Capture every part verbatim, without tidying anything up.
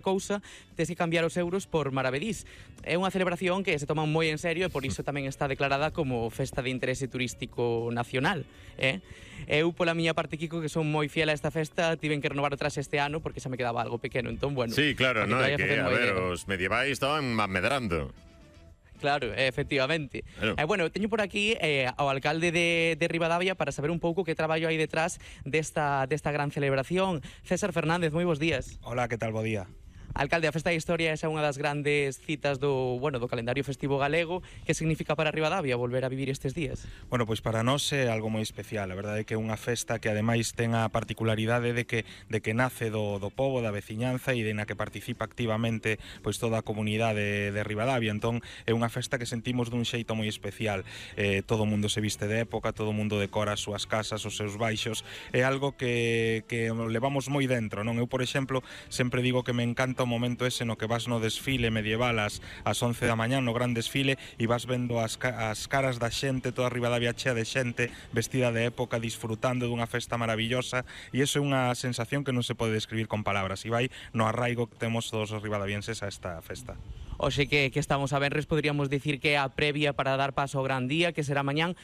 cousa, tes que cambiar os euros por maravedís. É unha celebración que se toma moi en serio e por iso tamén está declarada como festa de interese turístico nacional. Eh? Eu, pola miña parte, Kiko, que son moi fiel a esta festa, tiven que renovar o traxe este ano porque xa me quedaba algo pequeno. Entón, bueno, sí, claro, no, é que, a ver, idea. Os medievais estaban medrando. Claro, efectivamente. Claro. Eh, bueno, teño por aquí eh, ao alcalde de, de Ribadavia para saber un pouco que traballo hai detrás desta, desta gran celebración. César Fernández, moi bons días. Hola, que tal, bo día. Alcalde, a Festa da Historia é xa unha das grandes citas do, bueno, do calendario festivo galego. Que significa para Ribadavia volver a vivir estes días? Bueno, pois para nós é algo moi especial. A verdade é que é unha festa que ademais ten a particularidade de que de que nace do, do pobo, da veciñanza e de na que participa activamente pois toda a comunidade de Ribadavia. Entón é unha festa que sentimos dun xeito moi especial. Eh, todo o mundo se viste de época, todo o mundo decora as súas casas, os seus baixos. É algo que, que levamos moi dentro, non? Eu, por exemplo, sempre digo que me encanta o momento ese no que vas no desfile medieval ás, ás once da mañá, no gran desfile, e vas vendo as, as caras da xente, toda a Ribadavia chea de xente vestida de época, disfrutando dunha festa maravillosa, e iso é unha sensación que non se pode describir con palabras, e vai no arraigo que temos todos os ribadavienses a esta festa. Oxe, que, que estamos a venres, poderíamos dicir que é a previa para dar paso ao gran día, que será mañán.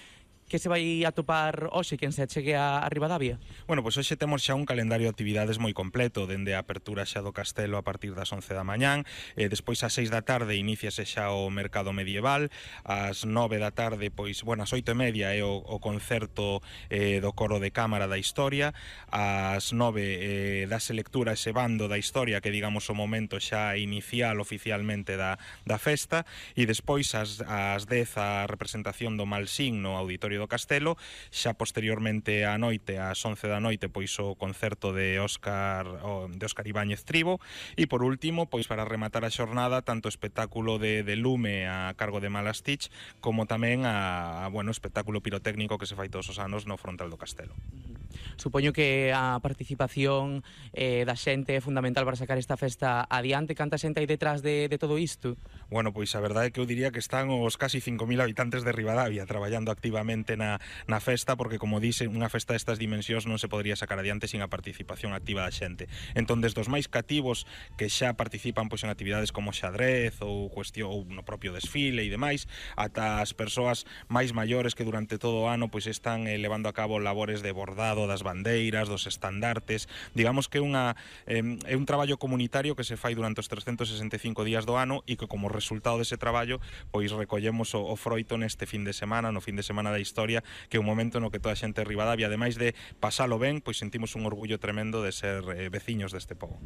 Que se vai atopar hoxe quen se achegue a, a Ribadavia? Bueno, pois hoxe temos xa un calendario de actividades moi completo, dende a apertura xa do castelo a partir das once da mañán, e despois ás seis da tarde iníciase xa o mercado medieval, ás nove da tarde, pois, bueno, ás oito e media é o, o concerto eh, do coro de cámara da historia, ás nove eh, dase lectura ese bando da historia, que digamos o momento xa inicial oficialmente da, da festa, e despois ás, ás dez a representación do Malsín no auditorio do Castelo, xa posteriormente á noite, ás once da noite, pois o concerto de Óscar de Óscar Ibáñez Tribo, e por último, pois para rematar a xornada, tanto espectáculo de, de lume a cargo de Malastich, como tamén a, a bueno, espectáculo pirotécnico que se fai todos os anos no frontal do Castelo. Supoño que a participación eh, da xente é fundamental para sacar esta festa adiante. Canta xente hai detrás de, de todo isto? Bueno, pois a verdade é que eu diría que están os casi cinco mil habitantes de Ribadavia traballando activamente na, na festa, porque, como dixe, unha festa destas dimensións non se podría sacar adiante sin a participación activa da xente. Entón, desde os máis cativos que xa participan pois en actividades como xadrez ou cuestión ou no propio desfile e demais, ata as persoas máis maiores que durante todo o ano pois están eh, levando a cabo labores de bordado das bandeiras, dos estandartes. Digamos que é unha eh, é un traballo comunitario que se fai durante os trescentos sesenta e cinco días do ano e que como resultado dese traballo pois recollemos o, o froito neste fin de semana, no fin de semana da historia, que é un momento no que toda a xente de Ribadavia, ademais de pasalo ben, pois sentimos un orgullo tremendo de ser eh, veciños deste pobo.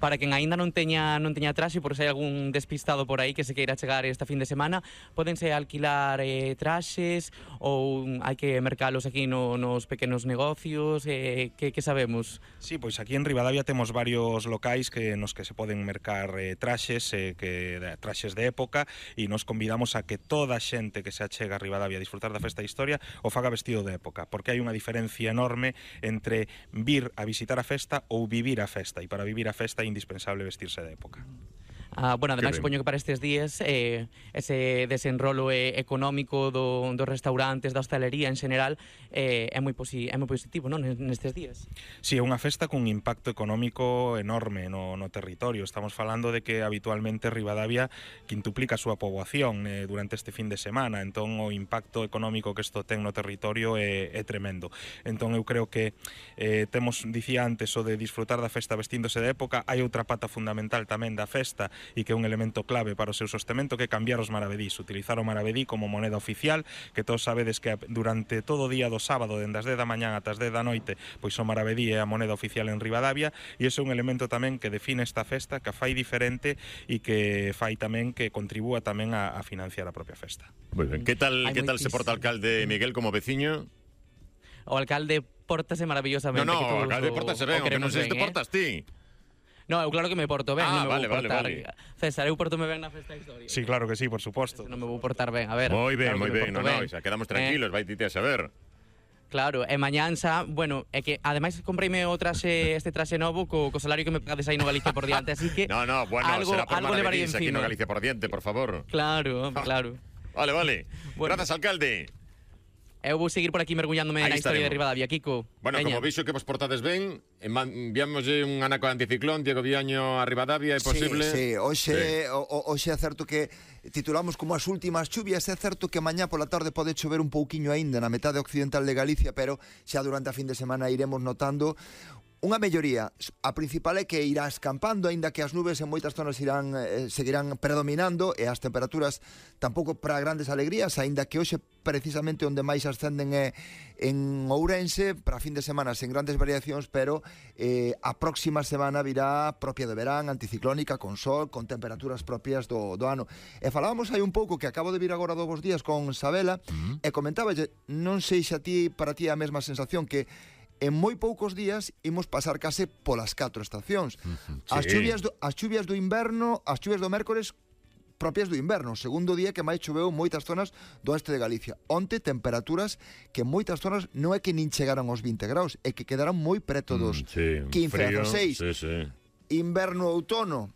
Para quen aínda non teña non teña traxe, por se hai algún despistado por aí que se queira chegar esta fin de semana, pódense alquilar eh, traxes ou hai que mercalos aquí no, nos pequenos negocios, eh, que, que sabemos? Sí, pois aquí en Ribadavia temos varios locais que nos que se poden mercar eh, traxes, eh, que traxes de época, e nos convidamos a que toda a xente que se achega a Ribadavia a disfrutar da festa de historia o faga vestido de época, porque hai unha diferencia enorme entre vir a visitar a festa ou vivir a festa, e para vivir a festa é indispensable vestirse de época. Ah, bueno, ademais, supoño que para estes días eh, ese desenrolo eh, económico do, dos restaurantes, da hostalería en general eh, é, moi posi é moi positivo, non, nestes días? Si, sí, é unha festa cun impacto económico enorme no, no territorio. Estamos falando de que habitualmente Ribadavia quintuplica a súa poboación eh, durante este fin de semana, entón o impacto económico que isto ten no territorio é, é tremendo. Entón eu creo que eh, temos, dicía antes, o de disfrutar da festa vestíndose de época. Hai outra pata fundamental tamén da festa, e que é un elemento clave para o seu sostemento, que é cambiar os maravedís, utilizar o maravedí como moneda oficial, que todos sabedes que durante todo o día do sábado, dende as dez da mañán ata as dez da noite, pois o maravedí é a moneda oficial en Ribadavia, e iso é un elemento tamén que define esta festa, que a fai diferente e que fai tamén que contribúa tamén a, a financiar a propia festa. Moi ben, que tal, que tal se porta o alcalde Miguel como veciño? O alcalde portase maravillosamente. No, no, o alcalde portase ben, o que non sei se te portas ti. No, eu claro que me porto ben, ah, non me vale, vou portar. vale, vale. César, eu portome ben na festa de historia. Sí, claro que sí, por suposto. Non me vou portar ben, a ver. Moi ben, claro moi ben, no, no, xa quedamos tranquilos, eh, vai tite a saber. Claro, e mañán xa, bueno, é que ademais compreime o traxe, este traxe novo co, co salario que me pagades aí no Galicia por diante, así que No, no, bueno, algo, será por maravedís aquí no encima. Galicia por diante, por favor. Claro, claro. Vale, vale. Bueno. Grazas, alcalde. Eu vou seguir por aquí mergullándome Ahí na historia estaremos. de Ribadavia, Kiko. Bueno, Veña. como vixo que vos portades ben, enviámoslle un anaco de anticiclón, Diego Viaño a Ribadavia, é posible? Sí, sí, hoxe, Sí. o, o- hoxe é certo que titulamos como as últimas chuvias, é certo que mañá pola tarde pode chover un pouquiño aínda na metade occidental de Galicia, pero xa durante a fin de semana iremos notando unha melloría. A principal é que irá escampando, aínda que as nubes en moitas zonas irán eh, seguirán predominando e as temperaturas tampouco para grandes alegrías, aínda que hoxe precisamente onde máis ascenden é en Ourense, para fin de semana sen grandes variacións, pero eh, a próxima semana virá propia de verán, anticiclónica, con sol, con temperaturas propias do, do ano. E falábamos hai un pouco que acabo de vir agora dous días con Sabela, uh-huh. e comentaba, non sei se a ti, para ti é a mesma sensación que en moi poucos días imos pasar case polas catro estacións. Uh-huh, As sí. chuvias do, as chuvias do inverno, as chuvias do mércores propias do inverno, segundo día que máis choveu en moitas zonas do oeste de Galicia. Onte temperaturas que en moitas zonas non é que nin chegaron aos vinte graus, é que quedaron moi preto dos Mm, sí, quince a frío, dezasseis. Sí, sí. Inverno outono.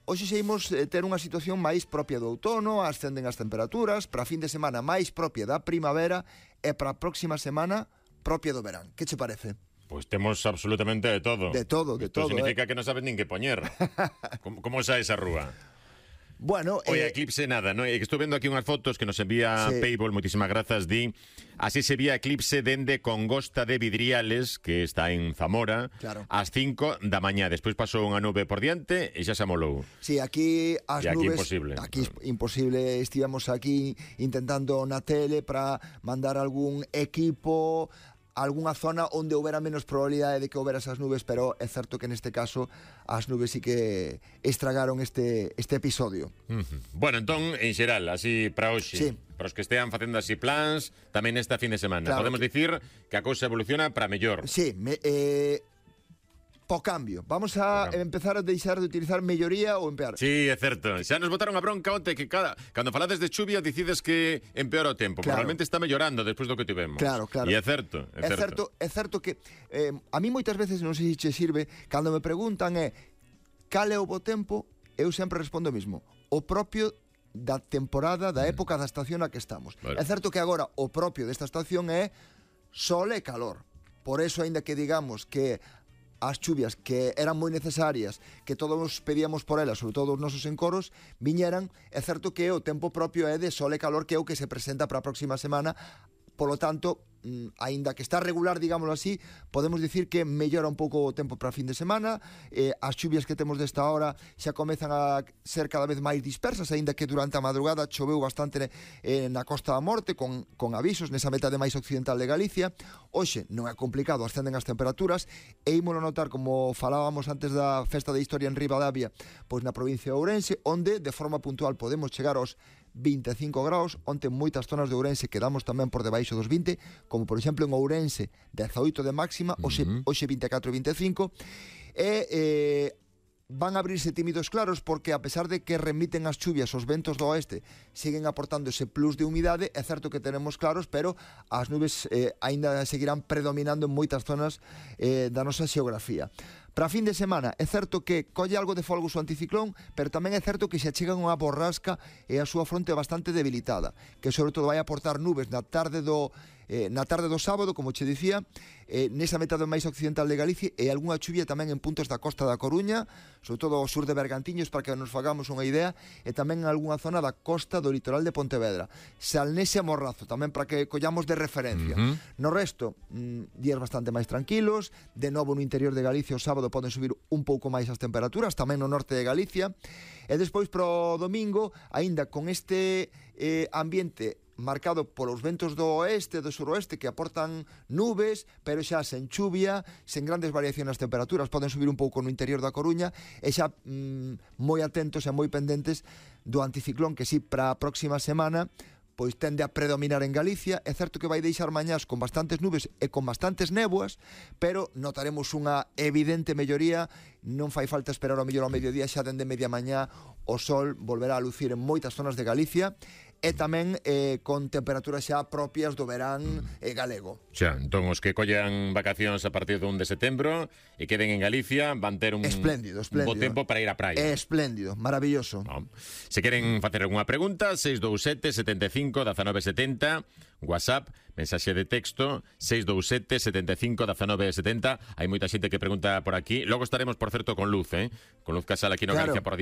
Hoxe seguimos eh, ter unha situación máis propia do outono, ascenden as temperaturas, para fin de semana máis propia da primavera e para a próxima semana propia do verán. Que che parece? Pois temos absolutamente de todo. De todo, de Isto todo, significa eh. que non sabes nin que poñer. como, como xa esa rúa? Bueno, Oye, eh, eclipse nada, ¿no? É que estou vendo aquí unhas fotos que nos envía Sí. Payball, moitísimas grazas, di así se vía eclipse dende Congosta de Vidriales, que está en Zamora, Claro. ás cinco da mañá. Despois pasou unha nube por diante e xa se amolou. sí, aquí as E aquí nubes imposible. aquí es imposible, estivemos aquí intentando na tele para mandar algún equipo a algunha zona onde houbera menos probabilidade de que houbera esas nubes, pero é certo que neste caso as nubes sí que estragaron este este episodio. Uh-huh. Bueno, entón, en xeral, así para hoxe, Sí. para os que estean facendo así plans, tamén esta fin de semana. Claro Podemos que- dicir que a cousa evoluciona para mellor. Sí, me, eh, po cambio. Vamos a Po cambio. empezar a deixar de utilizar melloría ou empeorar. Sí, é certo. Xa nos botaron a bronca onte que cada cando falades de chuvia decides que empeora o tempo. Claro. Probablemente está mellorando despois do que tivemos. Claro, claro. E é certo, é, É certo, é certo que eh, a mí moitas veces non sei se che sirve cando me preguntan é cal é o bo tempo, eu sempre respondo o mismo. O propio da temporada, da época da estación a que estamos. Vale. É certo que agora o propio desta estación é sol e calor. Por eso, aínda que digamos que as chuvias que eran moi necesarias, que todos pedíamos por elas, sobre todo os nosos encoros, viñeran, é certo que o tempo propio é de sol e calor, que é o que se presenta para a próxima semana. Polo tanto, mm, aínda que está regular, digámoslo así, podemos dicir que mellora un pouco o tempo para a fin de semana. eh, as chuvias que temos desta hora xa comezan a ser cada vez máis dispersas, aínda que durante a madrugada choveu bastante eh, na Costa da Morte, con, con avisos nesa metade máis occidental de Galicia. Hoxe non é complicado, ascenden as temperaturas, e ímolo notar, como falábamos antes da Festa de Historia en Ribadavia, pois na provincia de Ourense, onde de forma puntual podemos chegar aos vinte e cinco graus. Onte en moitas zonas de Ourense quedamos tamén por debaixo dos vinte, como por exemplo en Ourense dezaoito de máxima, hoxe, Uh-huh. hoxe vinte e catro e vinte e cinco, e eh, van a abrirse tímidos claros, porque a pesar de que remiten as chuvias os ventos do oeste, siguen aportando ese plus de humidade. É certo que tenemos claros, pero as nubes eh, aínda seguirán predominando en moitas zonas eh, da nosa xeografía. Para fin de semana, é certo que colle algo de folgos o anticiclón, pero tamén é certo que se achegan unha borrasca e a súa fronte bastante debilitada, que sobre todo vai aportar nubes na tarde do eh, na tarde do sábado, como che dicía, eh, nesa metade máis occidental de Galicia, e algunha chuvia tamén en puntos da costa da Coruña, sobre todo ao sur de Bergantiños, para que nos fagamos unha idea, e tamén en algunha zona da costa do litoral de Pontevedra. Salnese e Morrazo, tamén para que collamos de referencia. Uh-huh. No resto, mmm, días bastante máis tranquilos, de novo no interior de Galicia o sábado poden subir un pouco máis as temperaturas, tamén no norte de Galicia, e despois pro domingo, aínda con este eh, ambiente marcado polos ventos do oeste e do suroeste que aportan nubes, pero xa sen chuvia, sen grandes variacións nas temperaturas, poden subir un pouco no interior da Coruña, e xa mmm, moi atentos e moi pendentes do anticiclón, que si para a próxima semana pois tende a predominar en Galicia. É certo que vai deixar mañás con bastantes nubes e con bastantes néboas, pero notaremos unha evidente melloría. Non fai falta esperar ao mellor ao mediodía, xa dende media mañá o sol volverá a lucir en moitas zonas de Galicia, e tamén eh, con temperaturas xa propias do verán eh, galego. Xa, entón os que collan vacacións a partir do un de setembro e queden en Galicia van ter un, espléndido, espléndido. un bo tempo para ir á praia. Espléndido, maravilloso. No. Se queren facer algunha pregunta, seis dous sete, setenta e cinco, dezanove setenta, WhatsApp, mensaxe de texto, seis dous sete, setenta e cinco, dezanove setenta. Hai moita xente que pregunta por aquí. Logo estaremos, por certo, con Luz, eh? Con Luz Casal aquí no Claro. Galicia por